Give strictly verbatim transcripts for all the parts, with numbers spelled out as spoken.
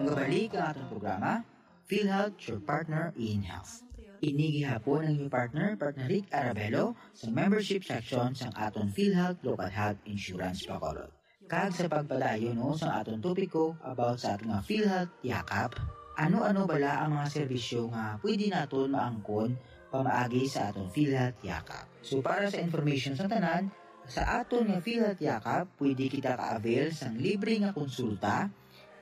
Magabalik ang atong programa, PhilHealth, your partner in health. Ini gihapon ang inyong partner, partner Rick Arabelo, sa membership section sang aton PhilHealth Local Health Insurance Bacolod. Kag sa pagpadayon, no, sa aton topiko about sa aton nga PhilHealth Yakap, ano-ano bala ang mga serbisyo nga pwede naton maangkon pamaagi sa aton PhilHealth Yakap? So, para sa information sa tanan, sa aton nga PhilHealth Yakap, pwede kita ka-avail sang libre nga konsulta,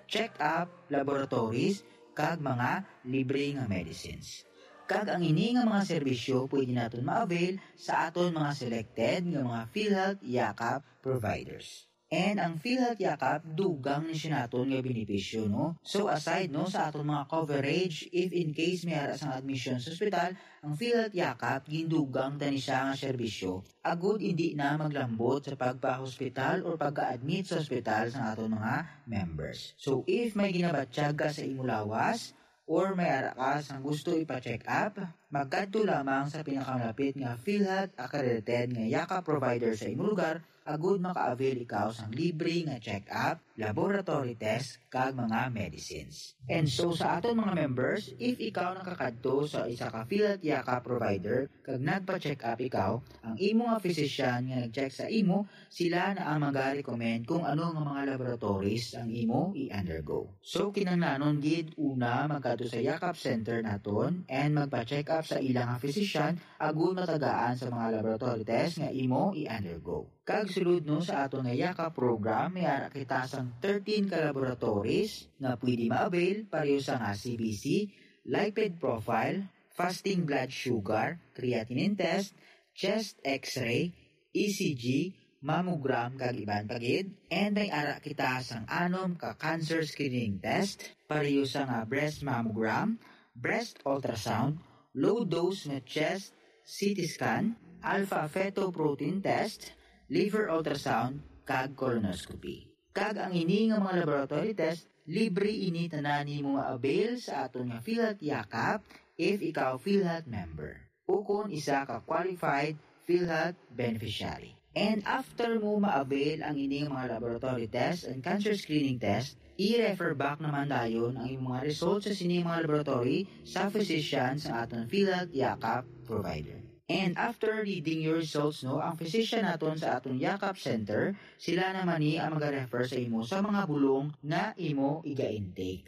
check-up, laboratories, kag mga libre nga medicines. Kag ang ini nga mga serbisyo pwede naton ma-avail sa aton mga selected nga mga PhilHealth Yakap providers. And ang PhilHealth Yakap, dugang ni siya naton nga benepisyo, no? So, aside, no, sa aton mga coverage, if in case may ara sang admission sa ospital, ang PhilHealth Yakap, gindugang ta ni siya nga serbisyo. Agud hindi na maglambot sa pagpa-hospital or pagka-admit sa ospital sa aton mga members. So, if may ginabatyag ka sa imo lawas, or may ara ka sang gusto ipa-check up, magkadto lamang sa pinakamalapit nga PhilHealth accredited nga Yakap provider sa imo lugar, agud maka-avail ikaw sang libre nga check-up, laboratory test, kag mga medicines. And so, sa aton mga members, if ikaw nakakadto sa isa ka PhilHealth Yakap provider kag nagpa-check up ikaw, ang imo nga physician nga nag-check sa imo, sila na ang maga-recommend kung ano nga mga laboratories ang imo i-undergo. So, kinahanglanon gid una magkadto sa Yakap Center naton and magpa-check up sa ilang nga physician agud matagaan sa mga laboratory test nga imo i-undergo. Kag sulod, no, sa aton nga Yakap program, may ara kita sang thirteen ka laboratories nga pwede ma-avail, pareho sa nga C B C, lipid profile, fasting blood sugar, creatinine test, chest X-ray, E C G, mammogram, kag iban pa gid. And may ara kita sang anom ka cancer screening test, pareho sa nga breast mammogram, breast ultrasound, low dose nga chest C T scan, alpha fetoprotein test, liver ultrasound, kag colonoscopy. Kag ang ini nga mga laboratory test, libre ini tanan nimo ma-avail sa aton nga PhilHealth Yakap if ikaw PhilHealth member o kon isa ka qualified PhilHealth beneficiary. And after mo ma-avail ang ini nga mga laboratory test and cancer screening test, i-refer back naman dayon ang imong mga results sa sini mga laboratory sa physician sa aton PhilHealth Yakap provider. And after reading your results, no, ang physician naton sa aton Yakap Center, sila naman ni ang maga-refer sa imo sa mga bulong nga imo iga-intake.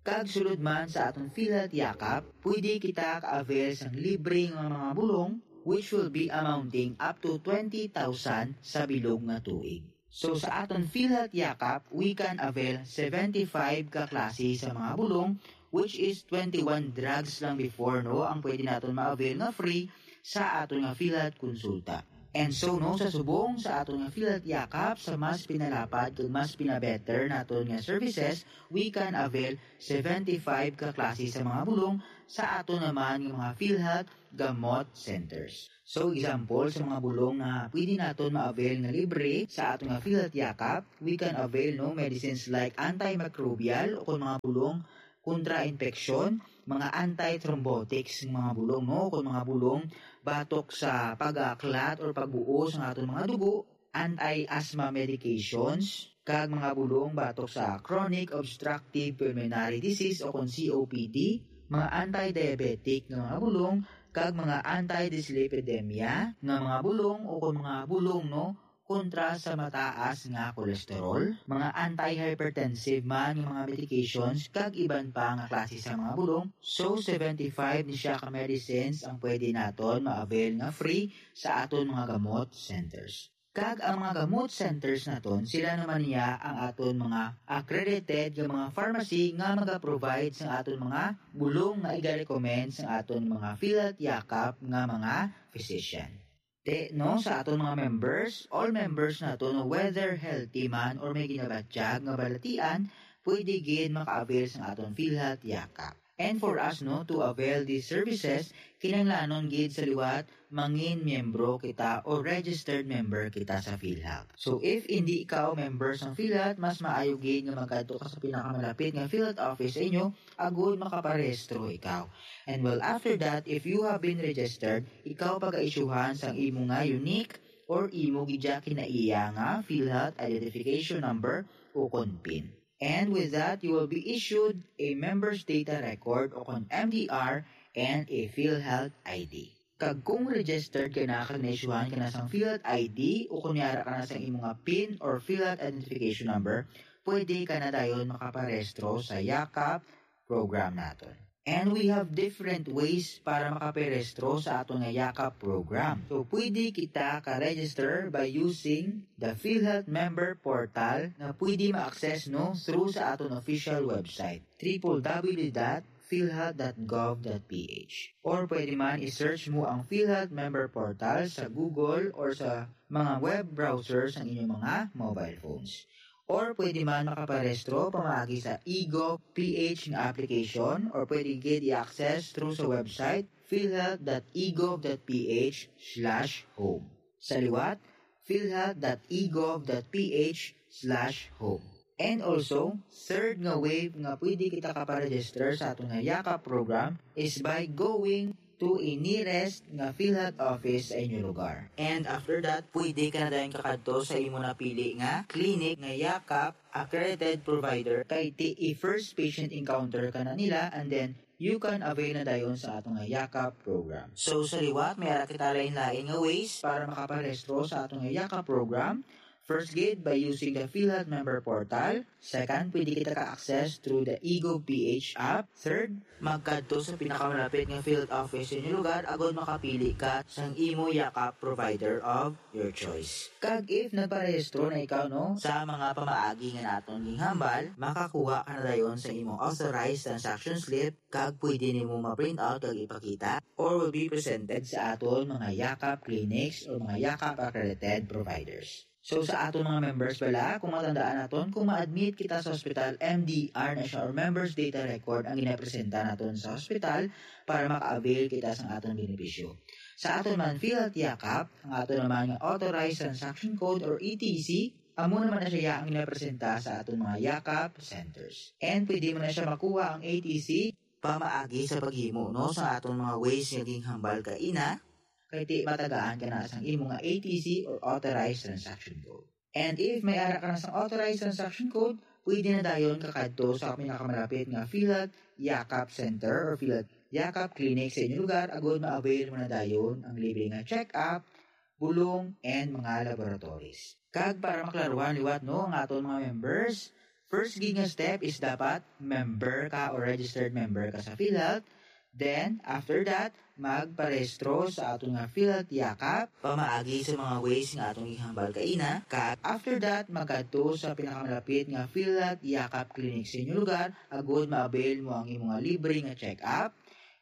Kag sulod man sa aton PhilHealth Yakap, pwede kita ka-avail sang libre nga mga bulong, which will be amounting up to twenty thousand sa bilog nga tuig. So, sa aton PhilHealth Yakap, we can avail seventy-five ka klase sa mga bulong, which is twenty-one drugs lang before, no, ang pwede naton ma-avail nga free sa aton nga PhilHealth konsulta. And so, no, sa subong sa aton nga PhilHealth Yakap, sa mas pinalapad kag mas pinabetter naton nga services, we can avail seventy-five ka klase sa mga bulong sa aton naman nga mga PhilHealth gamot centers. So, example sa mga bulong nga pwede naton ma-avail nga libre sa aton nga PhilHealth Yakap, we can avail, no, medicines like antimicrobial o kon mga bulong kontra infeksyon, mga antithrombotics nga mga bulong, no, o kon mga bulong batok sa pag-aklat or pagbuo sa aton mga dugo, anti-asthma medications, kag mga bulong batok sa chronic obstructive pulmonary disease o kon C O P D, mga anti-diabetic nga mga bulong, kag mga anti-dyslipidemia nga mga bulong o kon mga bulong, no, kontra sa mataas nga kolesterol, mga antihypertensive man nga mga medications, kag iban pa nga klase sa mga bulong. So, seventy-five ni siya ka medicines ang pwede naton ma-avail nga free sa aton mga gamot centers. Kag ang mga gamot centers naton, sila naman niya ang aton mga accredited nga mga pharmacy nga maga-provide sa aton mga bulong nga iga-recommend sa aton mga PhilHealth Yakap nga mga physician. Te, no, sa aton mga members, all members naton, whether healthy man or may ginabatyag nga balatian, pwede gid maka-avail sa aton PhilHealth Yakap. And for us, no, to avail these services, kinahanglanon gid sa liwat mangin miyembro kita o registered member kita sa PhilHealth. So, if hindi ikaw member sa PhilHealth, mas maayo gid nga magkadto ka sa pinakamalapit nga PhilHealth office sa inyo agud makaparehistro ikaw. And well, after that, if you have been registered, ikaw paga-isyuhan sang imo nga unique or imo gid kinaiya nga PhilHealth identification number o kon pin. And with that, you will be issued a member's data record o kon M D R and a PhilHealth I D. Kag kung registered ka na kag na-issuehan ka na sang PhilHealth I D o kon may ara ka na sang imo nga PIN or PhilHealth identification number, pwede ka na dayon makaparehistro sa Yakap program naton. And we have different ways para makaparehistro sa aton nga Yakap program. So, pwede kita ka-register by using the PhilHealth member portal nga pwede ma-access, no, through sa aton official website, triple W dot philhealth dot gov dot P H. Or pwede man i-search mo ang PhilHealth member portal sa Google or sa mga web browser sa inyong mga mobile phones. Or pwede man makaparehistro pamaagi sa eGov P H nga application, or pwede gid i-access through sa website philhealth dot egov dot P H slash home. Sa liwat, philhealth dot egov dot P H slash home. And also, third nga way nga pwede kita kaparegister sa aton nga Yakap program is by going to a nearest nga PhilHealth office sa inyo lugar. And after that, pwede ka na dayon kakadto sa imo napili nga clinic nga Yakap accredited provider, kay ti i-first patient encounter ka na nila, and then you can avail na dayon sa aton nga Yakap program. So, sa liwat, may ara kita lain-lain nga ways para makaparehistro sa aton nga Yakap program. First gid, by using the PhilHealth member portal. Second, pwede kita ka-access through the eGov P H app. Third, magkadto sa pinakamalapit nga PhilHealth office sa inyo lugar agod makapili ka sang imo Yakap provider of your choice. Kag if nagparehistro na ikaw, no, sa mga pamaagi nga naton ginhambal, makakuha ka na dayon sa imong authorized transaction slip kag pwede nimo ma-print out kag ipakita or will be presented sa aton mga Yakap clinics or mga Yakap accredited providers. So, sa aton mga members bala, kung matandaan naton, kung ma-admit kita sa hospital, M D R na siya or members data record ang ginapresenta naton sa hospital para maka-avail kita sa aton benepisyo. Sa aton man PhilHealth Yakap, ang aton naman nga authorized transaction code or A T C, amo naman na siya ang ginapresenta sa aton mga Yakap centers. And pwede mo na siya makuha ang A T C pamaagi sa paghimo, no, sa aton mga ways nga ginhambal kaina, kay ti matagaan ka na sang imo nga A T C or authorized transaction code. And if may ara ka na sang authorized transaction code, pwede na dayon kakadto sa pinakamalapit nga PhilHealth Yakap Center or PhilHealth Yakap Clinic sa inyong lugar agod ma-avail mo na dayon ang libre nga check-up, bulong, and mga laboratories. Kag para maklaruhan liwat, no, ang aton mga members, first gid nga step is dapat member ka or registered member ka sa PhilHealth. Then, after that, magparehistro sa aton nga PhilHealth Yakap pamaagi sa mga ways nga atong gihambal kaina. Kag after that, magkadto sa pinakamalapit nga PhilHealth Yakap Clinic sa inyong lugar agod ma-avail mo ang imo nga libre nga check-up.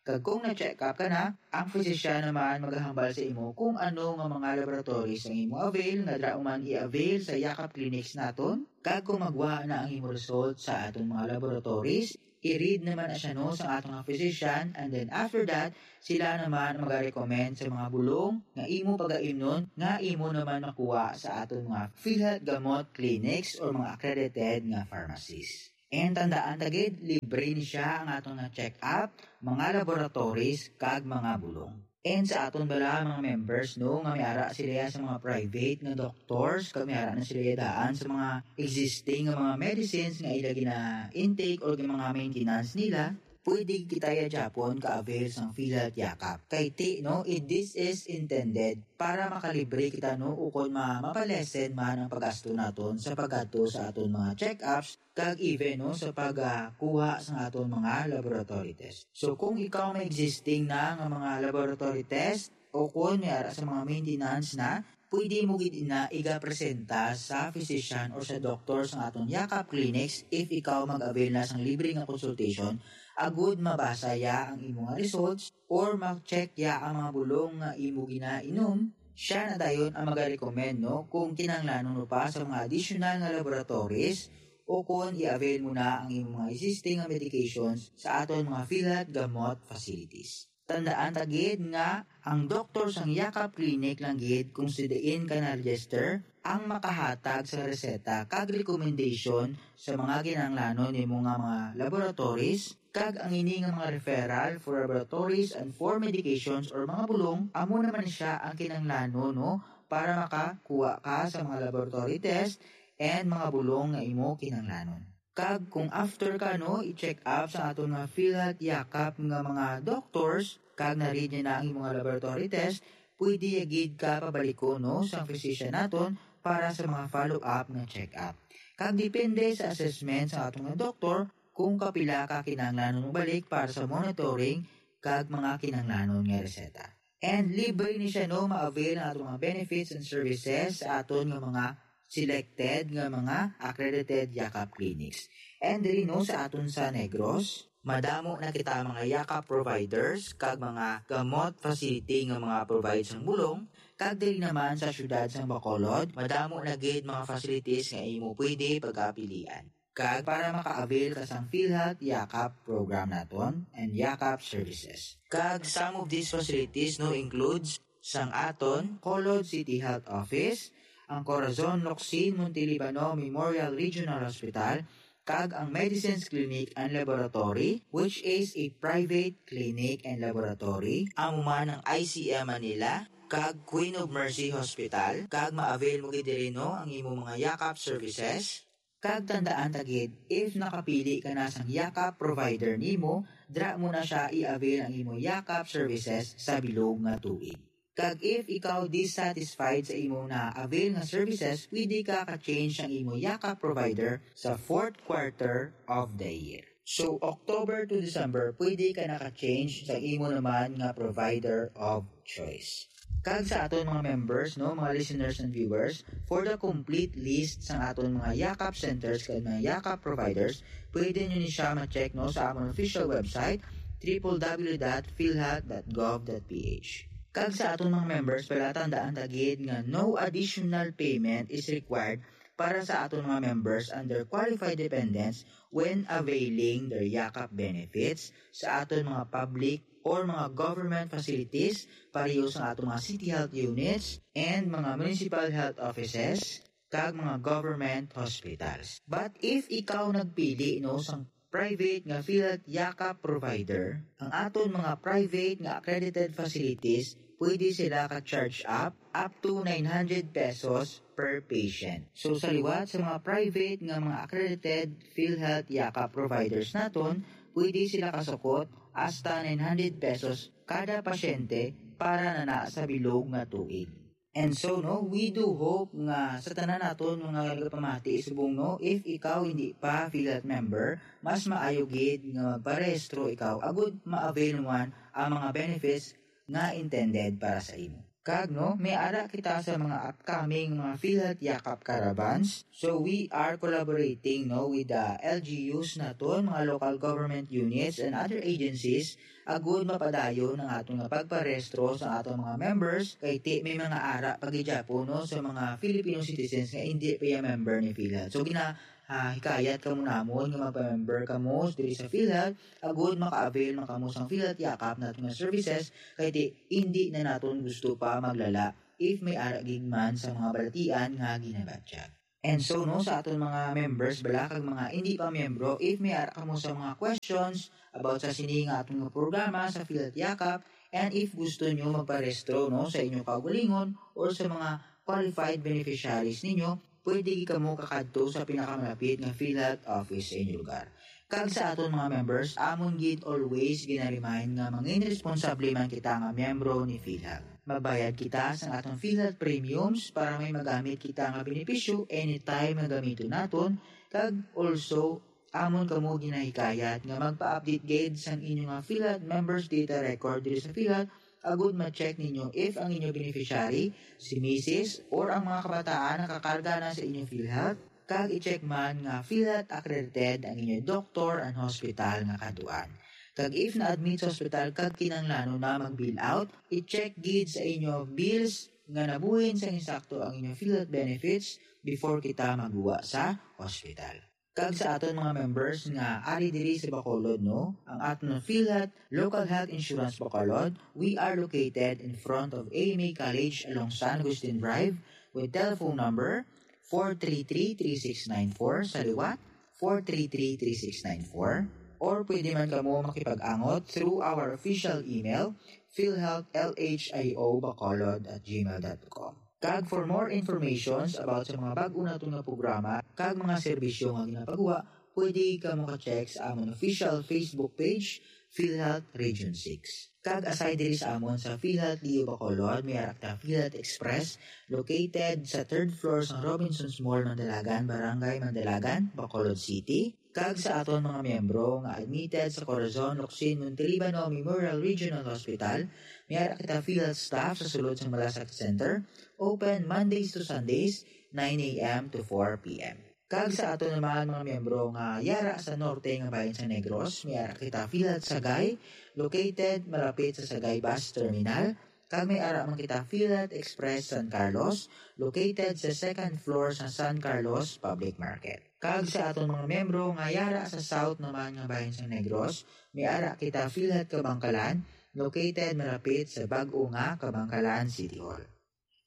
Kag kung na-check up ka na, ang physician naman magahambal sa imo kung ano nga mga laboratories ang imo avail, nga dira man i-avail sa Yakap Clinics naton. Kag kung magwa na ang imo result sa aton mga laboratories, i-read naman na siya, no, sa aton nga physician, and then after that, sila naman ang magarecommend sa mga bulong nga imo pagaimnon nga imo naman makuha sa aton mga PhilHealth Gamot Clinics or mga accredited nga pharmacies. And tandaan ta gid, libre ni siya ang aton nga check-up, mga laboratories, kag mga bulong. And sa aton bala mga members, no, nga may ara sila sa mga private nga doctors, kag may ara na sila daan sa mga existing nga mga medicines nga ila gina-intake or mga maintenance nila, pwede kita ya gyapon ka-avail sang PhilHealth Yakap. Kay ti, no, it, this is intended para makalibre kita, no, ukon ma-, mapalesen man ang paggasto naton sa pagkadto sa aton mga check-ups, kag even, no, sa pagkuha sa aton mga laboratory test. So, kung ikaw may existing na nga mga laboratory test, o kung may ara sa mga maintenance na, pwede mo gid ina igapresenta sa physician or sa doktor sa aton Yakap Clinics if ikaw mag-avail na sang libre nga consultation, agud mabasa ya ang imo nga results or ma-check ya ang mga bulong nga imo ginainom. Siya na dayon ang magarecommend, no, kung kinahanglanon mo pa sa mga additional nga laboratories o kung i-avail mo na ang imong mga existing nga medications sa aton mga PhilHealth Gamot facilities. Tandaan ta gid nga ang doktor sang Yakap Clinic lang gid kung sa diin ka na-register ang makahatag sa reseta kag recommendation sa mga kinahanglanon nimo nga mga laboratories, kag ang ini nga mga referral for laboratories and for medications or mga bulong, amo naman siya ang kinahanglanon, no, para makakuha ka sa mga laboratory test and mga bulong nga imo kinahanglanon. Kag kung after ka, no, i-check up sa aton nga PhilHealth Yakap nga mga doctors, kag na-read niya na ang imong laboratory test, pwede gid ka pabalikon, no, sa physician naton para sa mga follow-up nga check-up. Kag depende sa assessment sa aton nga doktor kung kapila ka kinahanglan mobalik para sa monitoring kag mga kinahanglanon nga reseta. And libre ni siya, no, ma-avail ang aton mga benefits and services sa aton nga mga selected nga mga accredited Yakap clinics. And diri, no, sa aton sa Negros, madamo na kita mga Yakap providers kag mga gamot facility nga mga provide sang bulong, kag diri naman sa siyudad sang Bacolod, madamo na gid mga facilities nga imo pwede pagapilian. Kag para maka-avail ka sang PhilHealth Yakap program naton and Yakap services. Kag some of these facilities, no, includes sang aton Bacolod City Health Office, ang Corazon Locsin Montelibano Memorial Regional Hospital, kag ang Medicines Clinic and Laboratory, which is a private clinic and laboratory, amo man ang I C M Manila, kag Queen of Mercy Hospital, kag ma-avail mo gid diri, no, ang imo mga Yakap services. Kag tandaan ta gid, if nakapili ka na sang Yakap provider nimo, dra mo na siya i-avail ang imo Yakap services sa bilog nga tuig. Kag if ikaw dissatisfied sa imo na-avail nga services, pwede ka ka-change ang imo Yakap provider sa fourth quarter of the year. So, October to December, pwede ka naka-change sa imo naman nga provider of choice. Kag sa aton mga members, no, mga listeners and viewers, for the complete list sa aton mga Yakap centers kag mga Yakap providers, pwede nyo ni siya ma-check, no, sa amon official website, triple w dot philhealth dot gov dot p h. Kag sa aton mga members, pala tandaan ta gid nga no additional payment is required para sa aton mga members under qualified dependents when availing their Yakap benefits sa aton mga public or mga government facilities, pareho sa aton mga city health units and mga municipal health offices, kag mga government hospitals. But if ikaw nagpili, no, sang private nga PhilHealth Yakap provider, ang aton mga private nga accredited facilities, pwede sila ka-charge up up to nine hundred pesos per patient. So, sa liwat sa mga private nga mga accredited PhilHealth Yakap providers naton, pwede sila kasukot hasta nine hundred pesos kada pasyente para na, na sa bilog nga tuig. And so, no, we do hope nga sa tanan naton mga nagapamati subong, no, if ikaw hindi pa PhilHealth member, mas maayo gid nga magparehistro ikaw agud ma-avail mo man ang mga benefits nga intended para sa imo. Kag, no, may ara kita sa mga upcoming mga PhilHealth Yakap Caravans. So, we are collaborating, no, with the L G Us naton, mga local government units and other agencies, agud mapadayon ang aton nga pagparehistro sa aton mga members, kay ti may mga ara pa gid gyapon, no, sa mga Filipino citizens nga hindi pa iya member ni PhilHealth. So, gina-, ah, hikayat kamo namon nga magpa-member kamo diri sa PhilHealth, agud maka-avail man kamo sang PhilHealth Yakap naton nga services, kay ti hindi na naton gusto pa maglala if may ara gid man sa mga balatian nga ginabatyag. And so, no, sa aton mga members bala kag mga hindi pa miyembro, if may ara kamo sa mga questions about sa sini nga aton nga programa sa PhilHealth Yakap, and if gusto nyo magparehistro, no, sa inyo kaugalingon or sa mga qualified beneficiaries ninyo, pwede gid kamo kakadto sa pinakamalapit nga PhilHealth office sa inyo lugar. Kag sa aton mga members, amon gid always ginaremind nga mangin responsable man kita nga miyembro ni PhilHealth. Magbayad kita sa aton PhilHealth premiums para may magamit kita nga benepisyo anytime nga gamiton naton, kag also, amon kamo ginahikayat nga magpa-update gid sang inyo nga PhilHealth members data record diri sa PhilHealth, agud ma-check ninyo if ang inyo beneficiary, si misis, or ang mga kabataan nakakarga na sa inyo PhilHealth, kag i-check man nga PhilHealth accredited ang inyo doktor and hospital nga kaduan. Kag if na-admit sa hospital kag kinahanglanon na mag-bill out, i-check gid sa inyo bills nga nabuhin sang insakto ang inyo PhilHealth benefits before kita magguwa sa hospital. Kag sa aton mga members nga ari diri sa Bacolod, no, ang aton PhilHealth Local Health Insurance Bacolod, we are located in front of A M A College along San Agustin Drive with telephone number four three three three six nine four, sa liwat, four three three three six nine four, or pwede man kamo makipag-angot through our official email, philhealthlhiobacolod at gmail dot com. Kag for more informations about sa mga bag-o naton nga programa kag mga serbisyo nga ginapagawa, pwede ka maka-check sa amon official Facebook page, PhilHealth Region six. Kag aside diri sa amon sa PhilHealth Lio Bacolod, may ara kita PhilHealth Express, located sa third floor sa Robinsons Mall, Mandalagan, Barangay Mandalagan, Bacolod City. Kag sa aton mga miyembro nga admitted sa Corazon Locsin Montelibano Memorial Regional Hospital, may ara kita PhilHealth staff sa sulod sang Malasakit Center, open Mondays to Sundays, nine a.m. to four p.m. Kag sa aton naman mga miyembro nga yara sa norte nga bahin sa Negros, may ara kita PhilHealth Sagay, located malapit sa Sagay Bus Terminal, kag may ara man kita PhilHealth Express San Carlos, located sa second floor sa San Carlos Public Market. Kag sa aton mga miyembro nga yara sa south naman nga bahin sa Negros, may ara kita PhilHealth Kabangkalan, located malapit sa bag-o nga Kabangkalan City Hall.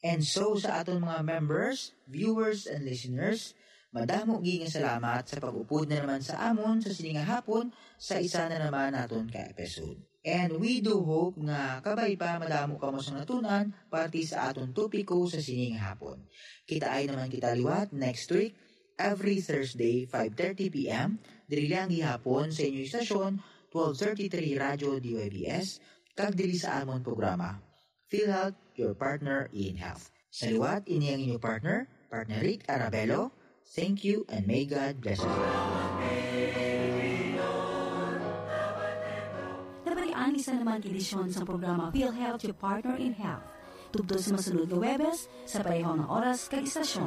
And so, sa aton mga members, viewers, and listeners, madamo gid nga salamat sa pag-upod na naman sa amon sa sini nga hapon sa isa na naman naton ka episode. And we do hope nga kabay pa madamo kamo sa natun-an parte sa aton topiko sa sini nga hapon. Kitaay naman kita liwat next week, every Thursday, five thirty p.m., diri lang gihapon sa inyong istasyon, twelve thirty-three Radyo D Y B S, kag diri sa amon programa, PhilHealth, your partner in health. Sa liwat, ini ang inyong partner, Partner Rick Arabelo. Thank you and may God bless us all. Nabalian ni sa naman edisyon sa programa PhilHealth, your partner in health. Tubtob sa masunod nga Webes, sa pareho nga oras kag istasyon.